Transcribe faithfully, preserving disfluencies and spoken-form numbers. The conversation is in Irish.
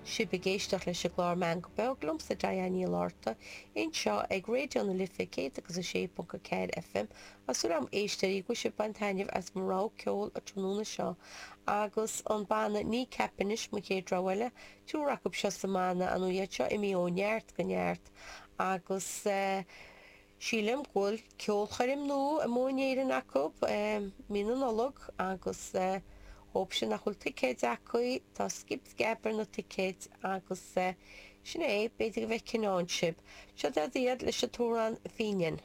sibh ag éisteacht leis an gclár Meangadh Beag liomsa Diane Ní Fhlatharta anseo ag Raidió na Life céad agus a sé ponc a ceathair FM. Tá súil agam éisteoirí go bhfuil sibh ag baint taitneamh as mo rogha ceoil an tráthnóna seo agus an banna Kneecap anois mo chéad rogha eile, triúr acu seo sa mbanna nó iad seo imithe ó neart go neart agus eh, Sílim go bhfuil ceolchoirm nua amuigh in Éirinn acu mí na Nollag agus dóibh sin nach bhfuil ticéid acu, tá scib sceab ar na ticéid agus sin é, b'fhéidir go bhfeicfinn ann sibh. Seo iad leis an t-amhrán Fínín.